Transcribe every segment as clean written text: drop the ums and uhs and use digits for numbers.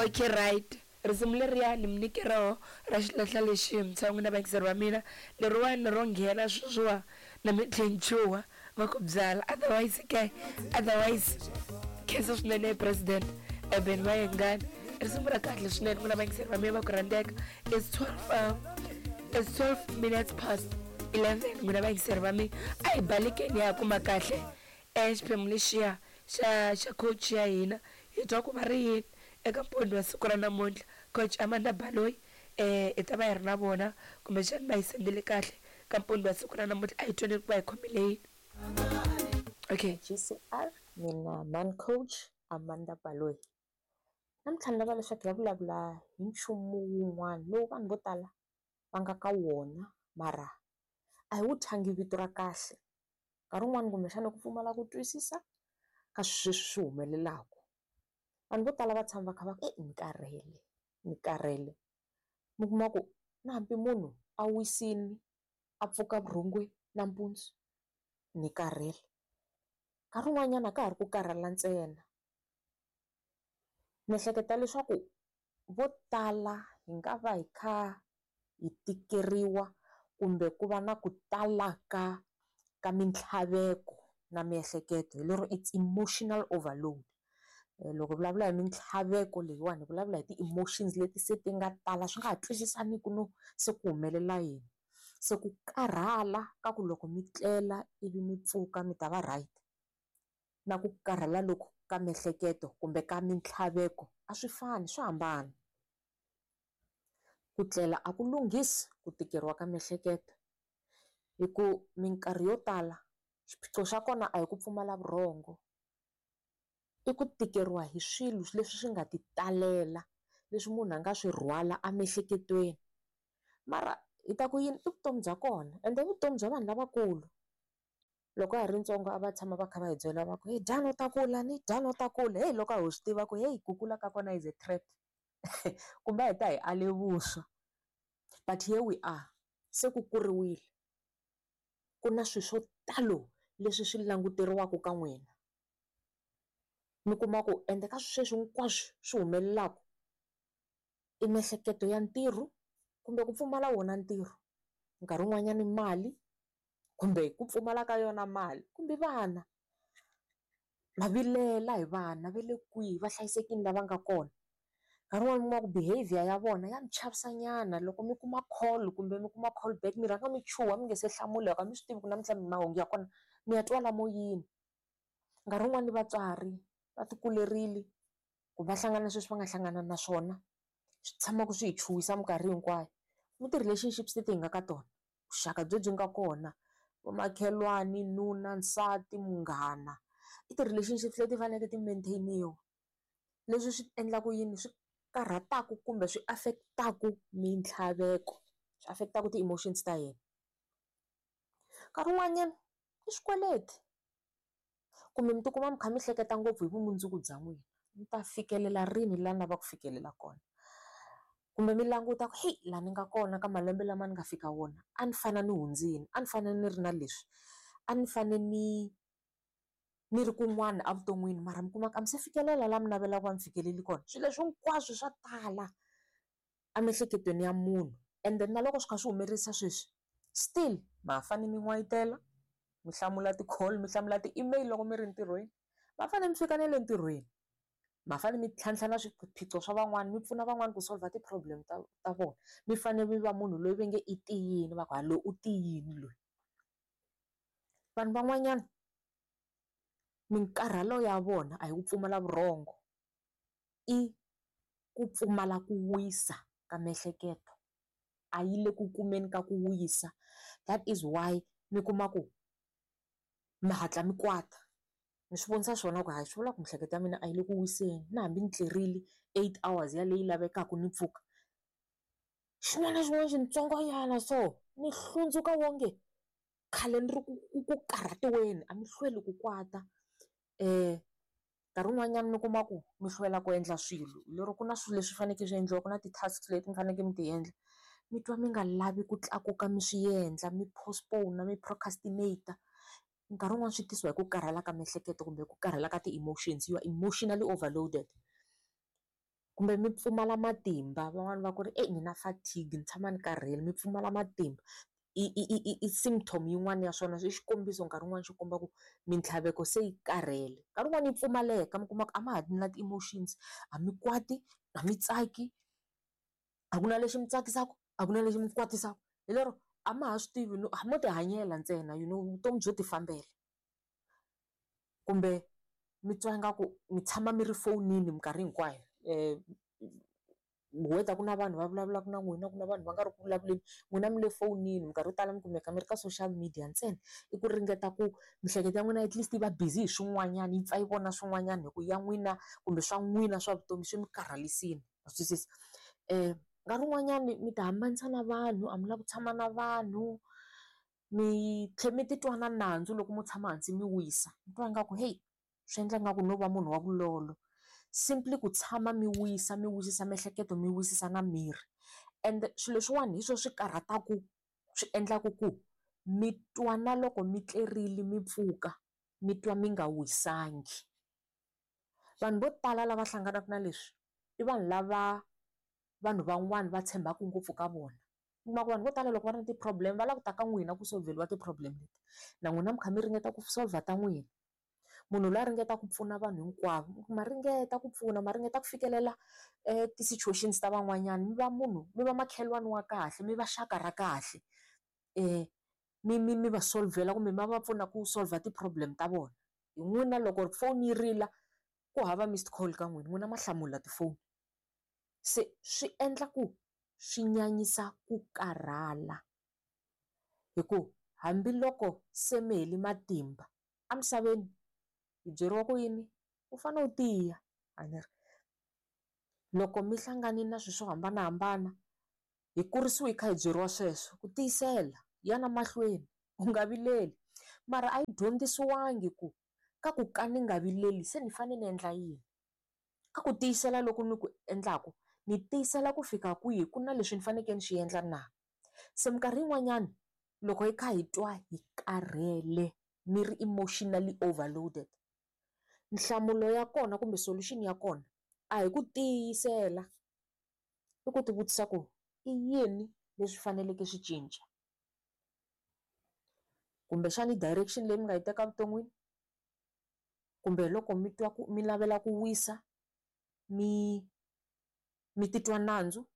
Okay, right, risimu leriya ni mi nyike roho ra xilahla lexi mutshwa n'wina vayingiseri va mina, leriwani ro nghena sweswiwa na mi tlhe ni chuha va ku byala. Otherwise ke, otherwise khensa swinene President Eben Mayengani, risimu ra kahle swinene n'wina vayingiseri va mina va ku rhandzeka. It's 12, it's 12 minutes past 11 n'wina vayingiseri va mina, a hi balekeni ya kuma kahle xiphemu lexiya xa coach ya hina, hi twa ku va ri yini eka mpundzu wa siku ra namuntlha. Coach Amanda Baloyi, hi ta va hi ri na vona kumbexani va hi sendele kahle ka mpundzu wa siku ra namuntlha, a hi twaneni ku va hi khomile yini. Okay. GCR, mina man coach Amanda Baloyi. Namuntlha ni lava leswaku hi ya vulavula hi nchumu wun'wana lowu vanhu vo tala va nga ka wona mara a hi wu thyangi vito ra kahle. Nkarhi wun'wani kumbexana ku pfumala ku twisisa ka swilo leswi swi humelelaka. Vanhu vo tala va tshama va kha va ku ni karhele, ni karhele. Mi kuma ku na hambi munhu a wisile a pfuka vurhongweni nampundzu, ni karhele. Nkarhi wun'wanyana a ka ha ri ku karhala ntsena. Ni ehleketa leswaku vo tala hi nga va hi kha hi tikeriwa kumbe ku va na ku tala ka mintlhaveko na miehleketo, hi lero it's emotional overload. Loko hi vulavula hi mintlhaveko leyiwani hi vulavula hi ti-emotions leti se ti nga tala swi nga ha twisisaniku no se ku humelela yini. Se ku karhala ka ku loko mi tlela ivi mi pfuka mi ta va right, na ku karhala loku ka miehleketo kumbe ka mintlhaveko a swi fani, swa hambana. Ku tlela a ku lunghisi ku tikeriwa ka miehleketo, hi ku minkarhi yo tala xiphiqo xa kona a hi ku pfumala vurhongo, i ku tikeriwa hi swilo leswi swi nga ti talela, leswi munhu a nga swi rhwala emiehleketweni. Mara hi ta ku yini, i vutomi bya kona ende i vutomi bya vanhu lavakulu. Loko ha ha ri ntsongo a va tshama va kha va hi byela va ku hey dyana u ta kula ni dyana u ta kula, hey loko a ho swi tiva ku hey ku kula ka kona is a trap kumbe a hi ta hi ale vuswa. But here we are, se ku kuriwile, ku na swilo swo talo leswi swi languteriwaka ka n'wina. Mi kuma ku ende ka sweswi hinkwaswo swi humelelaka i miehleketo ya ntirho kumbe ku pfumala wona ntirho, nkarhi wun'wanyana mali kumbe ku pfumala ka yona mali kumbe vana. Ma vilela hi vana va le kwihi, va hlayisekile la va nga kona. Nkarhi wun'wani mi kuma ku behavior ya vona ya mi chavisa nyana, loko mi kuma call kumbe mi kuma call back mi rhanga mi chuha mi nga se hlamula hikuva a mi swi tivi ku namuntlha mahungu ya kona mi ya twa lamo yini. Nkarhi wun'wani vatswari va ti kulerile ku va hlangana na sweswi va nga hlangana na swona, swi tshamaka swi hi chuhisa minkarhi hinkwayo. Ni ti-relationships leti hi nga ka tona, vuxaka byebyi nga kona, vamakhelwani, nuna, nsati, munghana, i ti-relationships leti faneleke ti maintain-iwa. Leswi swi endlaka yini, swi karhataka kumbe swi affect-aku mintlhaveko, swi affect-aku ti-emotions ta hina. Nkarhi wun'wanyana i swikweleti kumbe mi tikuma mi kha mi hleketa ngopfu hi vumundzuku bya n'wina, mi ta fikelela rini laha ni lavaka ku fikelela kona. Kumbe mi languta ku heyi laha ni nga kona ka malembe lama ni nga fika wona a ni fanele ni hundzile, a ni fanele ni ri na leswi, a ni fanele ni ri kun'wana evuton'wini mara mi kuma ku a mi se fikelela laha mi navelaka ku va mi fikelele kona. Swilo leswi hinkwaswo swa tala emiehleketweni ya munhu ende na loko swi kha swi humelerisa sweswi still ma ha fanele mi n'wayitela, mi hlamula ti-call, mi hlamula ti-email loko mi ri ntirhweni, ma fanele mi fika na le ntirhweni, ma fanele mi tlhantlha na swiphiqo swa van'wani, mi pfuna van'wani ku solve ti-problem ta vona, mi fanele mi va munhu loyi va nge i tiyile, va ku ha loyi u tiyile loyi. Vanhu van'wanyana minkarhalo ya vona a hi ku pfumala vurhongo, i ku pfumala ku wisa ka miehleketo, a yi le ku kumeni ka ku wisa. That is why mi kuma ku mi hatla mi kwata, mi swi vonisa swona ku hayi swi vula ku miehleketo ya mina a yi le ku wiseni, na hambi ni tlerile 8 hours yaleyi lavekaka ni pfuka, xin'wana na xin'wana xitsongonyana so ni hlundzuka wonge khale ni ri ku karhatiweni, a mi hlweli ku kwata. Nkarhi wun'wanyana mi kuma ku mi hlwela ku endla swilo lero ku na swilo leswi faneleke swi endliwa, ku na ti-tasks leti mi faneleke mi ti endla, mi twa mi nga lavi ku tlakuka mi swi endla, mi postpone, mi procrastinate. Nkarhi wun'wani swi tisiwa hi ku karhala ka miehleketo kumbe ku karhala ka ti-emotions, you are emotionally overloaded. Kumbe mi pfumala matimba van'wani va ku ri ni na fatigue ni tshama ni karhele mi pfumala matimba i i i i symptom yin'wana ya swona i xikombiso nkarhi wun'wani xo komba ku mintlhaveko se yi karhele. Nkarhi wun'wani yi pfumaleka mi kuma ku a ma ha ri na ti-emotions a mi kwati a mi tsaki a ku na lexi mi tsakisaka a ku na lexi mi kwatisaka hi lero a ma ha swi tivi no mo ti hanyela ntsena you know vutomi byo ti fambela. Kumbe mi twa ingaku mi tshama mi ri fonini minkarhi hinkwayo whether ku na vanhu va vulavulaka na n'wina ku na vanhu va nga ri ku vulavuleni n'wina mi le fonini minkarhi yo tala mi kumeka mi ri ka social media ntsena i ku ringeta ku miehleketo ya n'wina at least yi va busy hi swin'wanyana yi pfa yi vona swin'wanyana hi ku ya n'wina kumbe swa n'wina swa vutomi swi mi karhalisile ma swi twisisa. Nkarhi wun'wanyani mi ti hambanisa na vanhu a mi lavi ku tshama na vanhu mi tlhela mi titwa na nandzu loko mo tshama hansi mi wisa mi twa ingaku heyi swi endla ingaku no va munhu wa vulolo simply ku tshama mi wisa mi wisisa miehleketo mi wisisa na miri ende swilo leswiwani hi swona swi karhataka swi endlaka ku mi twa na loko mi tlerile mi pfuka mi twa mi nga wisangi. Vanhu vo tala lava hlanganaka na leswi i vanhu lava vanhu van'wana va tshembaka ngopfu ka vona. U kuma ku vanhu vo tala loko va ri na ti-problem va lava ku ta ka n'wina ku solveriwa ti-problem leti na n'wina mi kha mi ringeta ku solver ta n'wina. Munhu loyi a ringeta ku pfuna vanhu hinkwavo ma ringeta ku pfuna ma ringeta ku fikelela ti-situations ta van'wanyana mi va munhu mi va makhelwani wa kahle mi va xaka ra kahle mi mi mi va solvhela kumbe mi va pfuna ku solver ti-problem ta vona. Hi n'wina loko foni yi rila ku hava missed call ka n'wina, n'wina ma hlamula tifoni. Se swi endla ku swi nyanyisa ku karhala hi ku hambiloko se mi hele matimba emisaveni hi byeriwa ku yini u fanele u tiya a ni ri loko mi hlangane na swilo swo hambanahambana hi kurisiwe hi kha hi byeriwa sweswo ku tiyisela yana mahlweni u nga vileli mara a yi dyondzisiwangi ku ka ku ka ni nga vileli se ni fanele ni endla yini ka ku tiyisela loku ni ku endlaku ni tiyisela ku fika kwihi ku na leswi ni fanekele ni swi endla na se minkarhi yin'wanyana loko hi kha hi twa hi karhele mi ri emotionally overloaded nhlamulo ya kona kumbe solution ya kona a hi ku tiyisela i ku ti vutisa ku i yini leswi faneleke swi cinca kumbexana i direction leyi mi nga yi teka evuton'wini kumbe loko mi twa ku mi navela ku wisa mi mi titwa nandzu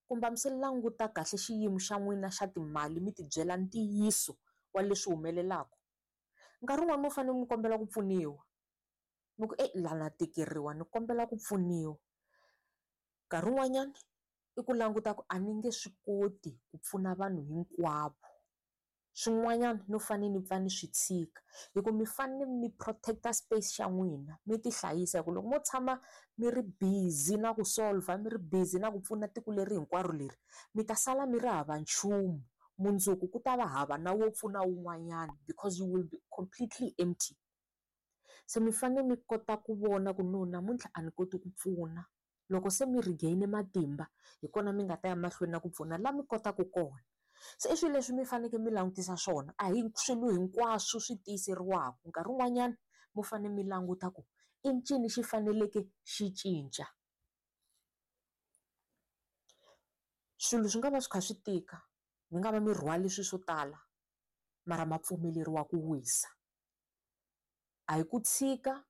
kumbe a mi se languta kahle xiyimo xa n'wina xa timali mi tibyela ntiyiso wa leswi humelelaka. Nkarhi wun'wani mo fanele mi kombela ku pfuniwa mi ku la na tikeriwa ni kombela ku pfuniwa. Nkarhi wun'wanyana i ku languta ku a ni nge swi koti ku pfuna vanhu hinkwavo swin'wanyana no fanele ni pfa ni swi tshika hi ku mi fanele mi protect-a space xa n'wina mi ti hlayisa hi ku loko mo tshama mi ri busy na ku solver mi ri busy na ku pfuna tiko leri hinkwaro leri mi ta sala mi ri hava nchumu mundzuku ku ta va hava na wo pfuna wun'wanyana because you will be completely empty. Se mi fanele mi kota ku vona ku no namuntlha a ni koti ku pfuna loko se mi regain matimba hi kona mi nga ta ya mahlweni na ku pfuna la mi kotaka kona. Se i swilo leswi mi fanekele mi langutisa swona a hi swilo hinkwaswo swi tiyiseriwaka nkarhi wun'wanyana mo fanele mi languta ku i ncini xi faneleke xi cinca. Swilo swi nga va swi kha swi tika mi nga va mi rhwale swilo swo tala mara ma pfumeleriwa ku wisa. A hi ku tshika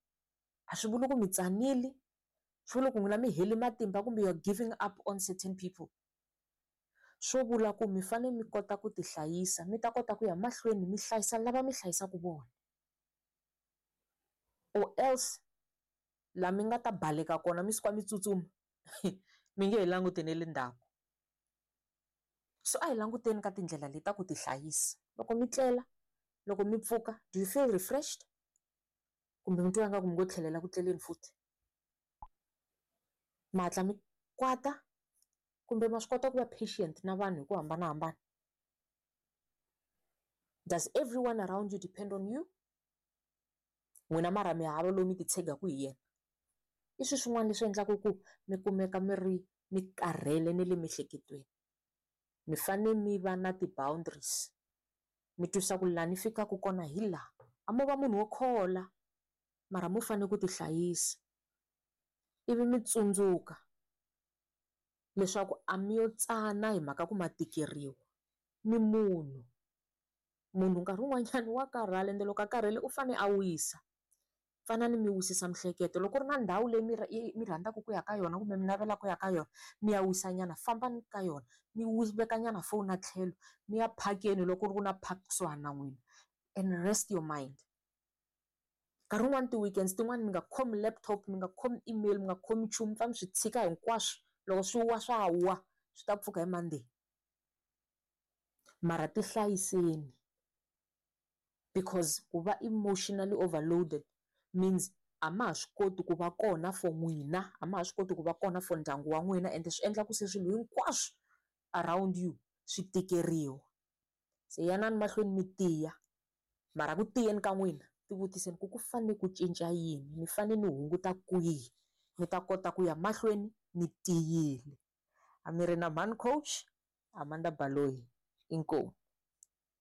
a swi vuli ku mi tsanile swi vula ku n'wina mi hele matimba kumbe you are giving up on certain people. Swo vula ku mi fanele mi kota ku ti hlayisa mi ta kota ku ya mahlweni mi hlayisa lava mi hlayisaka vona or else laha mi nga ta baleka kona mi suka mi tsutsuma mi nge he languti na le ndzhaku. So a hi languteni ka tindlela leti ta ku ti hlayisa loko mi tlela loko mi pfuka do you feel refreshed kumbe mi twa ingaku mi ngo tlhelela ku tleleni futhi ma hatla mi kwata kumbe ma swi kota ku va patient na vanhu hi ku hambanahambana. Does everyone around you depend on you? N'wina mara mi hava loyi mi titshegaka hi yena. I swilo swin'wana leswi endlaka ku mi kumeka mi ri mi karhele na le miehleketweni. Mi fanele mi va na ti-boundaries mi twisisa ku laha ni fikaka kona hi laha a mo va munhu wo khola mara mo fanele ku ti hlayisa ivi mi tsundzuka. Leswaku a mi yo tsana hi mhaka ku ma tikeriwa, mi munhu. Munhu nkarhi wun'wanyana wa karhala ende loko a karhele u fanele a wisa. Fanani mi wisisa miehleketo loko ku ri na ndhawu leyi mi mi rhandzaka ku ya ka yona kumbe mi navelaka ku ya ka yona mi ya wisanyana fambani ka yona mi vekanyana foni a tlhelo mi ya phakeni loko ku ri ku na park kusuhani na n'wina and rest your mind. Nkarhi wun'wani ti-weekends tin'wani mi nga khomi laptop mi nga khomi email mi nga khomi nchumu mi pfa mi swi tshika hinkwaswo loko swi wa swa wa swi ta pfuka hi Monday. Mara tihlayiseni because ku va emotionally overloaded means a ma ha swi koti ku va kona for n'wina a ma ha swi koti ku va kona for ndyangu wa n'wina ende swi endla ku se swilo hinkwaswo around you swi tikeriwa. Se yanani mahlweni mi tiya mara ku tiyeni ka n'wina tivutiseni ku ku fanele ku cinca yini ni fanele ni hunguta kwihi ni ta kota ku ya mahlweni ni tiyile. A mi ri na mhani coach Amanda Baloyi inkomu.